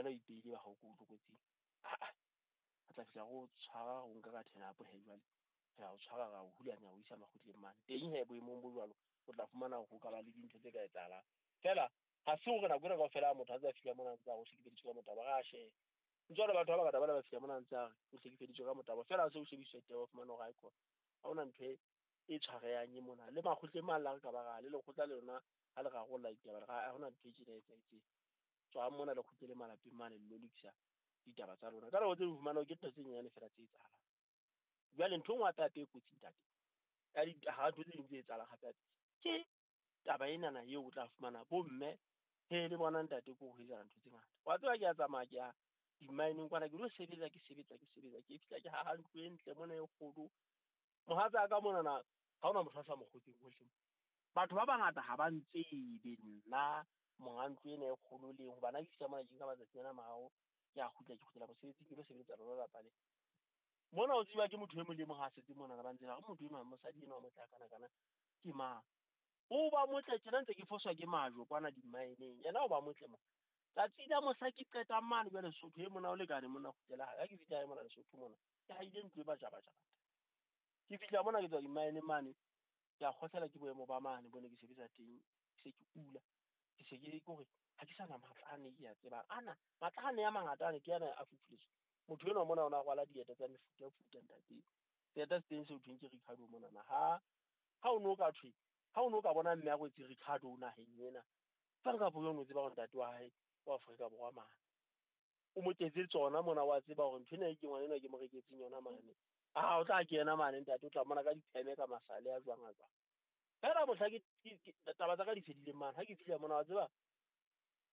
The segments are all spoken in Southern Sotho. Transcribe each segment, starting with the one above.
Wena o ipeile ba hao ko tlokotsing. Aa re tla fihla re o tshwara, re o nka ka thenapo he jwale. Re a o tshwara, ra o hulanya, o isa makgotleng mane. Teng he boemong bo jwalo, o tla fumana hore ho ka ba le dintho tse ka etsahalang. Feela ha se hore nako ena kaofela ha motho a ntse a fihla mona a ntse a re o hlekefeditswe ka motabo, ra sheba. Ntse batho ba bangata ba ba fihla mona ntse a re o hlekefeditswe ka motabo. Feela ha se o shebiswa taba, o fumana hore haekhona ha hona ntho e tshwarehang e mona. Le makgotleng mane le ha re ka ba ra le lekgotla le lona ha le rarolla ditaba, ha hona ntho e tjena e etsahetseng. Tswang mona le kgutlele malapeng mane le lo lokisa ditaba tsa lona. Ka nako tse ding o fumana hore ke ntho tse nyenyane feela tse etsahalang. Jwale ntho e nngwe hape hape e kotsi ntate, ya ha ntho tse ding tse etsahalang hape hape ke taba enana eo o tla fumana bo mme he le bona ntate ko ho etsahala ntho tse ngata. Wa tseba ke a tsamaya ke ya di-mine-eng kwana, ke lo sebetsa, ke sebetsa, ke sebetsa, ke fihla ke haha ntlo e ntle mona e kgolo. Mohatsa ka monana ha hona motho a sa mo kgotseng hohle. Batho ba bangata ha ba ntsebe nna monga ntlo ena e kgolo leng, hobane ha ke fihla mona ke nka matsatsi ana a mararo, ke a kgutla, ke kgutlela mosebetsing, ke lo sebeletsa lona lelapa le. Mona o tseba ke motho e mong le mong ha setse monana ba ntse ba re motho enwa mosadi enwa o motle hakana kana ke mang. O ba motle tjena ntse ke foswa ke majwe kwana di-mine-eng, yena o ba motle mona. Tsatsi la mohla ke qetang mane jwale Lesotho e mona o lekane mona kgutlela hae. Ha ke fihla hae mona Lesotho mona, ke haile ntlo e bajabajaba. Ke fihla mona ke tswa di-mine mane, ke a kgohlela ke boemo ba mane bo ne ke sebetsa teng, ke se ke kula. Ke se ke hore ha ke sana matla ane ke a tsebang. Ana matla ane a mangata ane ke ana a fufuletswe. Motho enwa mona o na rwala dieta tsa mefutafuta ntate. Seeta se teng seo thweng ke Ricardo monana. Ha o no ka thwe, ha o no ka bona mme a rwetse Ricardo naheng ena, jwang kapa jwang o tseba hore ntate wa hae wa Afrika Borwa mane. O mo ketse tsona mona, wa tseba hore ntho ena e ke ngwana enwa ke mo reketseng yona mane. Ah, o tla kena mane ntate, o tla mona ka dipheme ka masale a jwang a jwang. Feela mohla ke taba tsa ka di fedileng mane, ha ke fihla mona wa tseba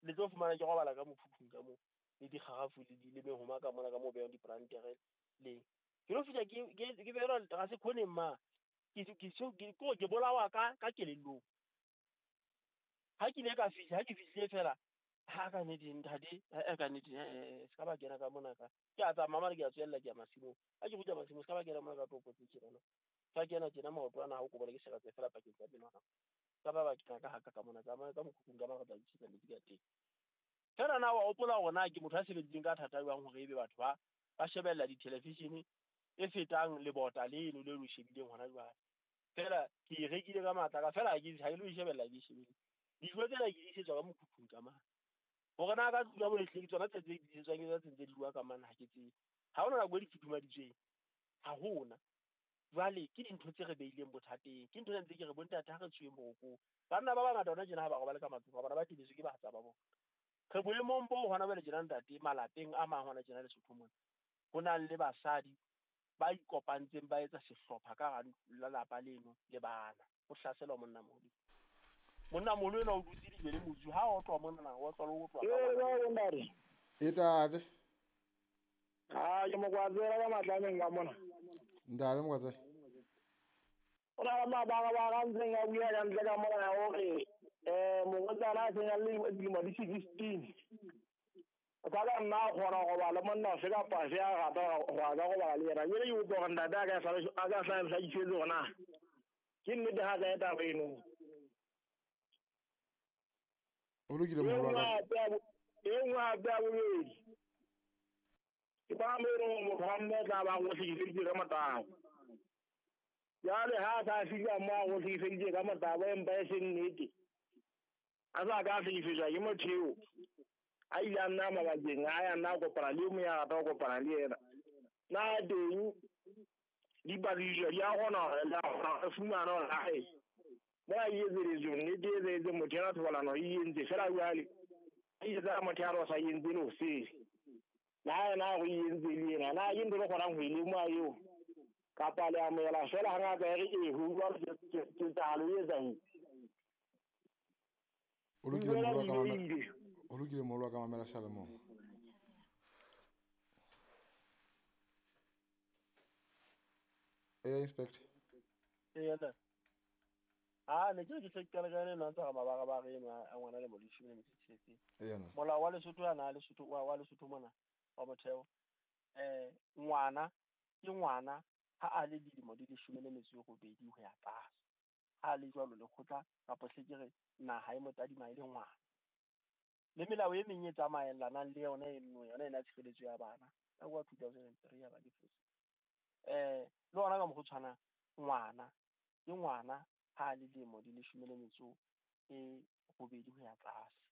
le tlo fumana ke robala ka mokhukhung ka moo, le dikgarafu le le mehoma ka mona ka moo behang dipolantere le. Ke lo fihla ke behelwa ga se khoneng ma. Ke bolawa ka kelellong. Ha ke ile ka fihla, ha ke fihlile fela, ha ka nnete ntate, ka nnete, se ka ba kena ka mona ka. Ke a tsamaya mane, ke a tswella ke ya masimong. Ha ke kgutla masimong, se ka ba kena mona ka topo tse tjena. Ka kena tjena maoto ana ha o kobola ke seretse fela pakeng tsa menwana. Ka ba kena ka haka ka mona, tsamaya ka mokhukhung ka mara tla tjhisa metsi ka teng. Feela na wa hopola hore na ke motho a sebeditseng ka thata jwang hore ebe batho ba shebella di-television e fetang lebota leno le lo shebileng hona jwale. Feela ke e rekile ka matla ka feela ha ke lo shebella ke shebile. Dijo tsena ke di isetswa ka mokhukhung ka mane. Hore na ka tlung ka mo ehlile ke tsona tse di isetswang ke tsona tse di bua ka mane ha ke tsebe. Ha hona nako e di futhumaditsweng. Ha hona. Jwale ke dintho tse re beileng bothateng. Ke ntho tse ntse ke re bontate ha re tsweng borokong. Banna ba bangata hona tjena ha ba robale ka matlung, ba bona ba tebetswe ke bahatsa ba bona. Re boemong bo hona jwale tjena ntate, malapeng a mang hona tjena Lesotho mona. Ho na le basadi ba ikopantseng ba etsa sehlopha ka hara lelapa leno le bana. Ho hlaselwa monna moholo. Monna moholo enwa o dutse lejwe le motsu, ha o otlwa monna, o otlwa le ho otlwa ka ngwana. E tate. Ha ke Mokwatsela ka matlameng ka mona. Ntate Mokwatsela. O na le mabaka ba ka ntseng a bua ka ntle ka mona hore morwetsana a seng a le dilemo di 16. O ka ba nna a kgona ho robala le monna ofe kapa ofe a rata ho a ka robala le yena. Jwale ke kopa hore ntate a ka hlakisetse hore na ke nnete ha kae taba eno. O lokile moholo wa ka. E nngwe hape ya bobedi. Ke ba mo eleng hore motho wa mme o tla ba go hlekefeditse ka motabo. Jwale ha a sa fihla mo a go hlekefeditse ka motabo empa e seng nnete. A sa ka hlekefetswa ke motho eo. A ile a nna mabakeng a ya nna a kopana le e mong ya rata ho kopana le yena. Na teng dipatlisiso di a kgona hore le a kgona ho fumana hore hae mona e etseditswe nnete e etsahetse motho ena thobalano e entse fela jwale a etsa motho ya re o sa entse le ho sele. Na yena a re e entse le yena, na ke ntho e le kgonang ho e lemoha eo kapa le amohela fela hangata e re ee ho utlwa ketsahalo e etsahetse. O lokile moholo wa ka mamela. O lokile moholo wa ka mamela seyalemoya. Eh inspector. Eh ntate. Ah ne ke tle ke qala ka ena ntse ga mabaka ba re ena a ngwana le moleshome le metso e tsheletseng. Molao wa Lesotho ana Lesotho wa Lesotho mona wa motheo. Ngwana ke ngwana ha a le dilemo di leshome le metso e robedi ho ya tlase. Ha le jwalo lekgotla kapa hle ke re naha e motadima e le ngwana. Le melao e meng e tsamaellanang le yona eno, yona ena tshireletso ya bana ka wa 2003 ya ba ke fose. Le ona ka mokgwa o tshwanang, ngwana ke ngwana ha a le dilemo di 18 ho ya tlase.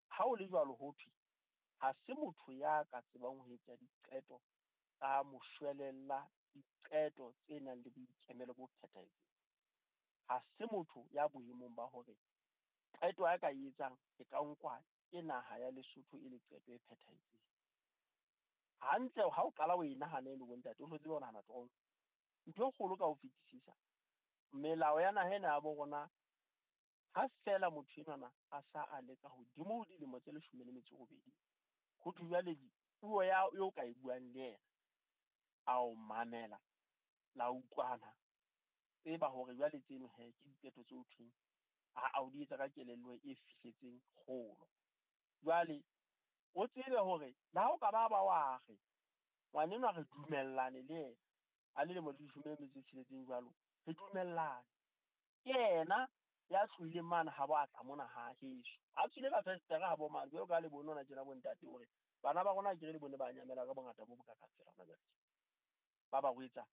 Ha o le jwalo ho thwe ha se motho ya ka tsebang ho etsa diqeto tsa moshwelella, diqeto tse nang le boikemelo bo phethahetseng. Ha se motho ya boemong ba hore qeto a ka e etsang e ka nkwa ke naha ya Lesotho e le qeto e phethahetseng. Hantle ha o qala o e nahana eno bontate, o hlotse o nahana toro. Ntho e kgolo ka ho fetisisa, melao ya naha ena ya bo rona, ha fela motho enwana a sa a le ka hodimo ho dilemo tse 18, ho thwe jwale puo ya eo ka e buang le yena, a o mamela, la utlwana, tseba hore jwale tseno he ke diqeto tse ho thweng a o di etsa ka kelello e fihletseng kgolo. Jwale o tsebe hore le ha o ka ba wa re ngwanenwa re dumellane le yena a le lemo di 16 jwalo, re dumellane ke yena ya tlohileng mane ha bo atla mona ha heso, a tswile ka festere ha bo mane jwalo ka le bone hona tjena bontate hore bana ba rona ke re le bone ba nyamela ka bongata bo bokakang fela hona jwale ba ba rwetsa.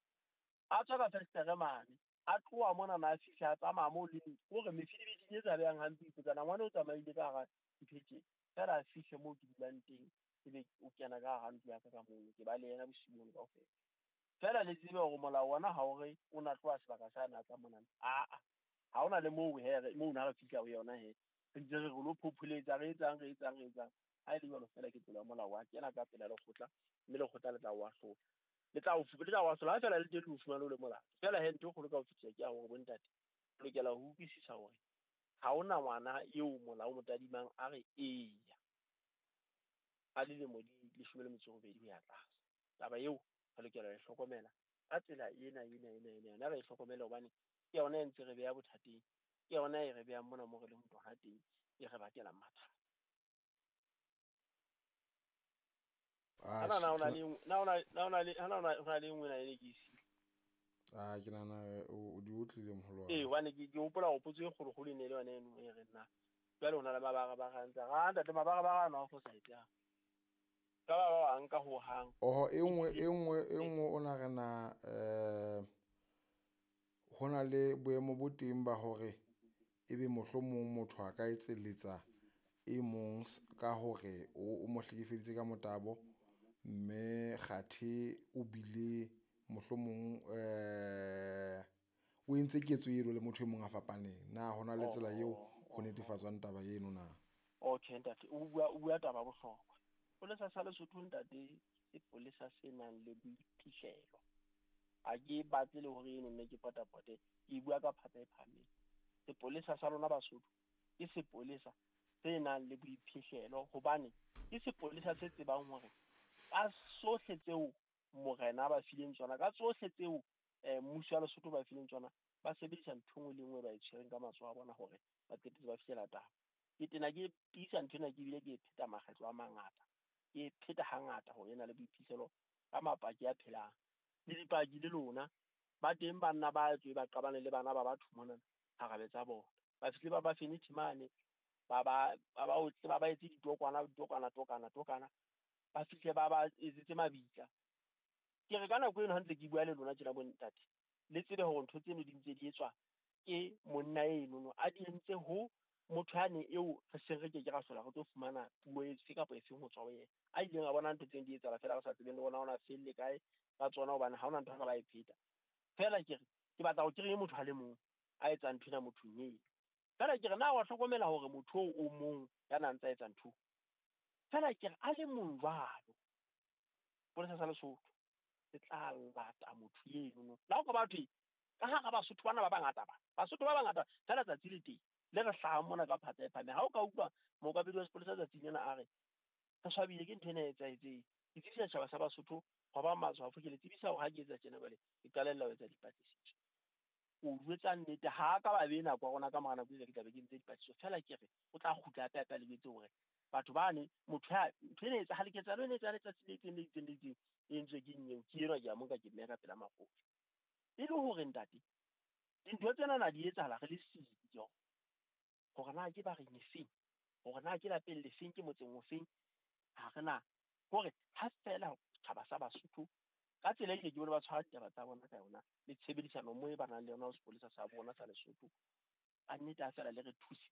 A tswa ka festere mane, a tloha mona na a fihla a tsamaya moo le hore mefidibiding e sa behang hampe ipotsa ngwana o tsamaile ka hara ntho e tje, fela a fihle moo ke dulang teng, ebe o kena ka hara ntlo ya ka ka moo, ke ba le yena bosiu bono kaofela. Fela le tsebe hore molao ona ha o re o na tloha sebaka sa na tla mona, aa ha hona le moo he moo na re fihla ho yona he, re ntse re lo phopholetsa, re etsang re etsang re etsang. Ha e le jwalo fela ke tsela ya molao wa kena ka pela lekgotla, mme lekgotla le tla o ahlola, le tla o ahlola ha fela le teng le o fumane o le molato. Fela he ntho e kgolo ka ho fetisa ke ya hore bontate re lokela ho utlwisisa hore ha hona ngwana eo molao o mo tadimang a re eya a dilemo di 18 ho ya tlase. Taba eo re lokela ho e hlokomela ka tsela ena ena ena ena yona re e hlokomele, hobane ke yona e ntse re beha bothateng, ke yona e re behang mona mo re leng tona teng, e re bakelang mathata. Na na na le nngwe na e ke isi. Ah, ke nahana o di utlwile moholo wa. Eh, hobane ke hopola hore potso e kgolokgolo e ne le yona eno e re nna. Jwale ho na le mabarabarang tsa ra ntate, mabarabara ana a fosahetse ha. Ka ba ba nka ho hang. Oho, e nngwe o na re na ho na le boemo bo teng ba hore ebe mohlomong motho a ka etselletsa e mong ka hore o mo hlekefeditse ka motabo, mme kgathe o bile mohlomong o entse ketso eno le motho e mong a fapaneng. Na hona le tsela eo ho netefatswang taba eno na? Okay ntate, o bua taba bohlokwa. Sepolesa sa Lesotho ntate, sepolesa se nang le boiphihlelo. Ha ke batle le hore eno nne ke potapote, ke bua ka phatsa e phahameng. Sepolesa sa lona Basotho ke sepolesa se nang le boiphihlelo, hobane ke sepolesa se tsebang hore ka sohle tseo morena ba fileng tsona, ka tsohle tseo mmuso wa Lesotho ba fileng tsona, ba sebedisa ntho nngwe le nngwe ba e tshwereng ka matsoho a bona hore ba qetetse ba fihlela taba. Ke tena ke tiisa ntho ena, ke bile ke e pheta makgetlo a mangata, ke e pheta hangata hore e na le boiphihlelo ka mapaki a phelang. Le dipaki le lona ba teng, banna ba tswe ba qabane le bana ba batho mona harabe tsa bona, ba fihle ba ba fenethe mane, ba ba otle, ba ba etse ditokwana, ditokwana, tokana, tokana, ba fihle ba ba etsetse mabitla. Ke re ka nako eno ha ntse ke bua le lona tjena bontate, le tsebe hore ntho tseno di ntse di etswa ke monna enono a di entse ho motho yane eo re seng re ke ke ra hlola re tlo fumana puo efe kapa efeng ho tswa ho yena, a ileng a bona ntho tseno di etsahala fela re sa tsebeng le rona ona felle kae ka tsona, hobane ha hona ntho re ba e pheta. Fela ke re ke batla ho kry-e motho a le mong a etsang ntho ena mothong eno. Fela ke re na wa hlokomela hore motho oo o mong ya na ntsa etsa ntho, fela ke re a le mong jwalo, sepolesa sa Lesotho se tla lata motho eno. Le ha o ka ba thwe ka hara Basotho bana ba bangata ba, Basotho ba bangata fela tsatsi le teng le re hlahang mona ka phatsa e phahameng. Ha o ka utlwa mookamedi wa sepolesa tsatsing lena a re re swabile ke ntho ena e etsahetseng, ke tsebisa setjhaba sa Basotho hwa ba matshwafo, ke le tsebisa hore ha ke etsa tjena jwale ke qalella ho etsa dipatlisiso. O jwetsa nnete, ha ka ba be nako ya rona ka mora nako e ke tla be ke ntse dipatlisiso. Fela ke re o tla kgutla hape hape a le jwetse hore batho bane motho ya ntho ena e etsahale, ketsahalo ena e etsahale tsatsi le itseng le itseng le itseng, e entswe ke eng eo, ke enwa ke a mo nka ke mmeha ka pela makgotla. E le hore ntate dintho tsena na di etsahala re le siyo, hore na ke ba reng efeng. Hore na ke lapeng lefeng, ke motseng ofeng, ha re na. Hore ha feela setjhaba sa Basotho ka tsela e ke bone ba tshwara ditaba tsa bona ka yona, le tshebedisano mmoho e ba nang le yona ho sepolesa sa bona sa Lesotho, ka nnete ha feela le re thusitse.